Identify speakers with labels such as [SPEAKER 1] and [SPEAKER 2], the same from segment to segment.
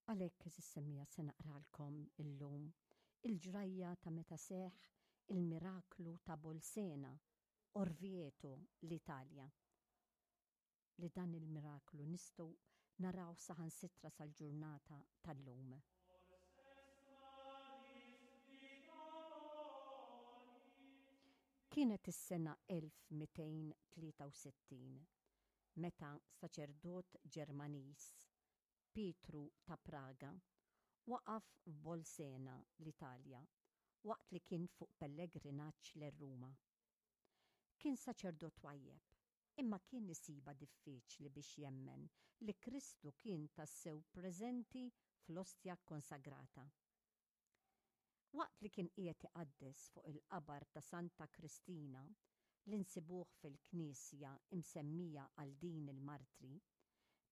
[SPEAKER 1] Għalhekk għeżież semmiegħa se naqralkom illum il-ġrajja ta' meta seħħ il-miraklu ta' Bolsena, Orvieto, l-Italja. Li dan il-miraklu nistgħu narawh saħansitra sal-ġurnata tal-lum. Kienet is-sena 1263 meta saċerdot Ġermaniż Pietru ta' Praga, waqaf f'Bolsena, l-Italja, waqt li kien fuq pellegrinaġġ lejn Ruma. Kien saċerdot twajjeb, imma kien isibha diffiċli biex jemmen li Kristu kien tassew preżenti fl-ostja kkonsagrata. Waqt li kien qiegħed iqaddes fuq il-qabar ta' Santa Kristina li nsibuh fil-knisja imsemmija għal din il-martri,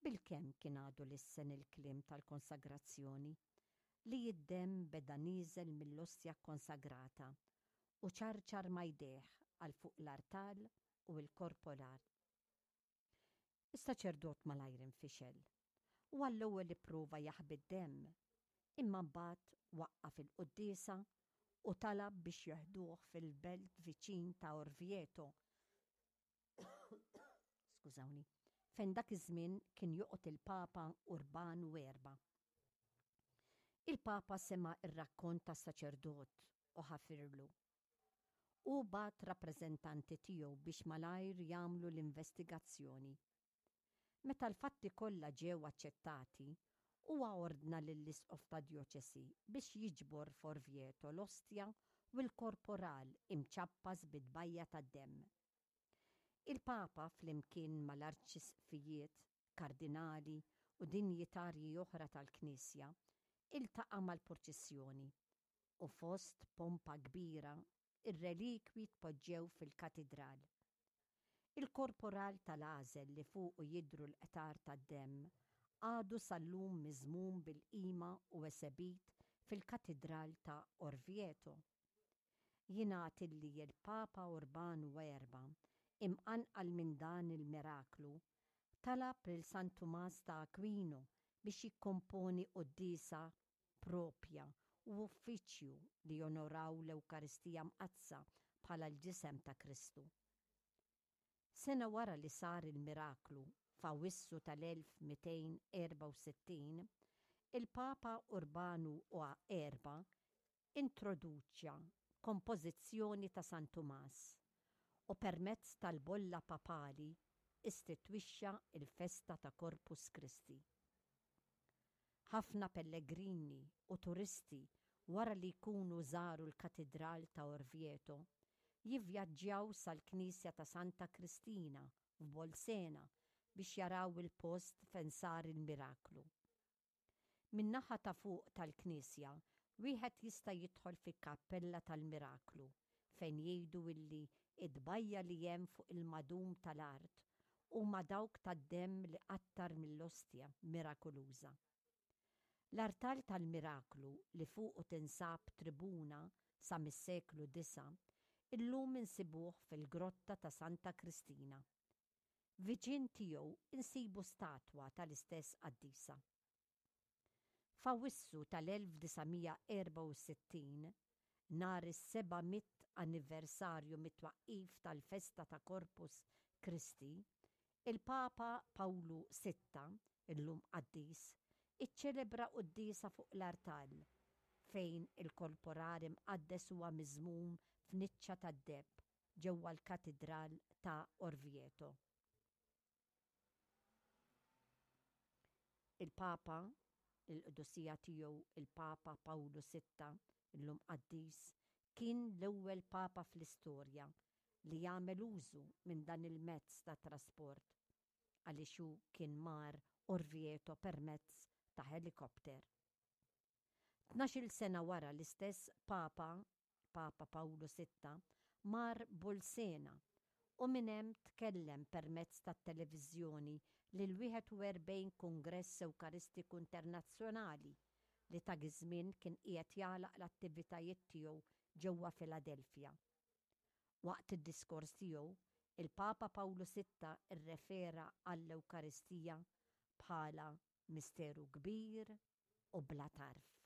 [SPEAKER 1] bilkemm kien għadu lissen il-kliem tal-konsagrazzjoni, li d-demm beda nieżel mill-ostja kkonsagrata u ċarċar ma' jdejh għal fuq l-artal u l-korporal. Is-saċerdot malajr infixel u għall-ewwel ipprova jaħbi d-demm, imma mbagħad waqqaf il-quddiesa u talab biex jeħduh fil-belt viċin ta' Orvieto, skużawni, fejn dak iż-żmien kien joqgħod il-Papa Urbanu Erba'. Il-Papa sema' r-rakkont tas-saċerdot u ħafirlu. Hu bagħat rappreżentanti tiegħu biex malajr jagħmlu l-investigazzjoni. Meta l-fatti kollha ġew aċċettati, huwa ordna lill-isqof tad-djoċesi biex jiġbor f'Orvieto l-ostja u l-korporal imċappas bi tbajja tad-demm. Il-Papa flimkien mal-arċisqfijiet, kardinali u dinjitarji oħra tal-Knisja iltaqa' mal-purċissjoni u fost pompa kbira r-relikwi tpoġġew fil-katidral. Il-korporal tal-għażel li fuqu jidhru l-qtar tad-demm għadu sal-lum miżmum bil-qima u esebit fil-katidral ta' Orvieto. Jingħad illi l-Papa Urbanu Erba', imqanqal minn dan il-miraklu, talab lil San Tumas ta' Aquino biex jikkomponi quddiesa proprja u uffiċċju li jonoraw l-Ewkaristija Mqaddsa bħala l-Ġisem ta' Kristu. Sena wara li sar il-miraklu, f'Awwissu tal-1264, il-Papa Urbanu Erba' introduċa kompożizzjoni ta' San Tumas u permezz tal-bolla papali istitwixxa l-festa ta' Corpus Christi. Ħafna pellegrini u turisti wara li jkunu żaru l-Katidral ta' Orvieto jivvjaġġjaw sal-Knisja ta' Santa Kristina f'Bolsena biex jaraw il-post fejn sar il-miraklu. Min-naħa ta' fuq tal-knisja wieħed jista' jidħol fil-kappella tal-Miraklu fejn jgħidu illi t-tbajja' li hemm fuq il-madum tal-art huma dawk tad-demm li qattar mill-ostja mirakoluża. L-artal tal-Miraklu li fuqu tinsab tribuna sa mis-seklu disa' illum insibuh fil-grotta ta' Santa Kristina. Viċin tiegħu nsibu statwa tal-istess qaddisa. F'Awwissu tal-1964, nhar is-700 anniversarju mit-twaqqif tal-festa ta' Corpus Christi, il-Papa Pawlu Sitta, illum qaddis, iċċelebra quddiesa fuq l-artal, fejn il-korporal imqaddes huwa miżmum f'niċċa tad-deheb ġewwa l-Katidral ta' Orvieto. Il-Papa, il-Qdusija Tiegħu il-Papa Pawlu Sitta, illum qaddis, kien l-ewwel Papa fl-istorja li għamel użu minn dan il-mezz ta' trasport għaliex hu kien mar Orvieto permezz ta' ħelikopter. Tnax-il sena wara l-istess Papa Papa Pawlu Sitta, mar Bolsena u minn hemm tkellem permezz tat-televiżjoni lill-41 Kungress Ewkaristiku Internazzjonali li dak iż-żmien kien qiegħed jagħlaq l-attivitajiet tiegħu ġewwa Philadelphia. Waqt id-diskors tiegħu, il-Papa Pawlu Sitta rrefera għall-Ewkaristija bħala misteru kbir u bla tarf.